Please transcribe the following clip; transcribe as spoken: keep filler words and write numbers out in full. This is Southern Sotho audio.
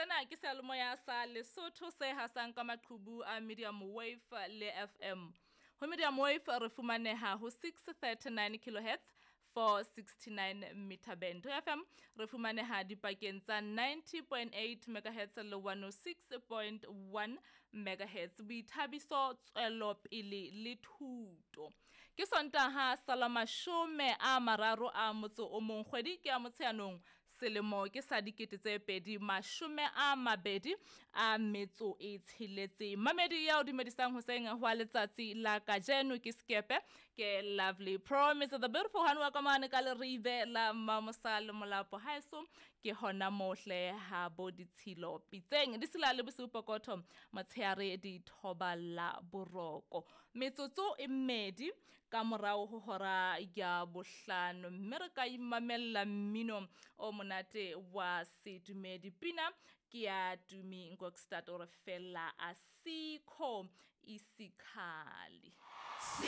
Sena ke seyalemoya sa Lesotho se hasang ka maqhubu a medium wave le F M. Ho medium wave re fumaneha ho six thirty-nine kilohertz four sixty-nine meter band. Ho F M re fumaneha dipakeng tsa ninety point eight megahertz le one oh six point one megahertz. Boithabiso, tswelopele le thuto. Ke Sontaha sa la mashome a mararo a motso o mong, kgwedi ke ya Motsheanong, selemo ke sa dikete tse pedi mashome a mabedi a metso e tsheletseng. Mamedi ya o dumedisang hoseng hwa letsatsi la kajeno ke Skepe, ke Lovely Promise, the beautiful one wa ka mane ka leribe la Mamosale Molapo. Haeso ke hona mohle ha bo ditshilo pitseng di sila le bosiu pokotho motshehare di thoba la boroko. Metsotso e mmedi ka morao ho hora ya bohlano, mme re ka imamella mmino o monate wa sedumedi. Pina ke ya Tumi Ngokstad o re fela asikho isikhali. Si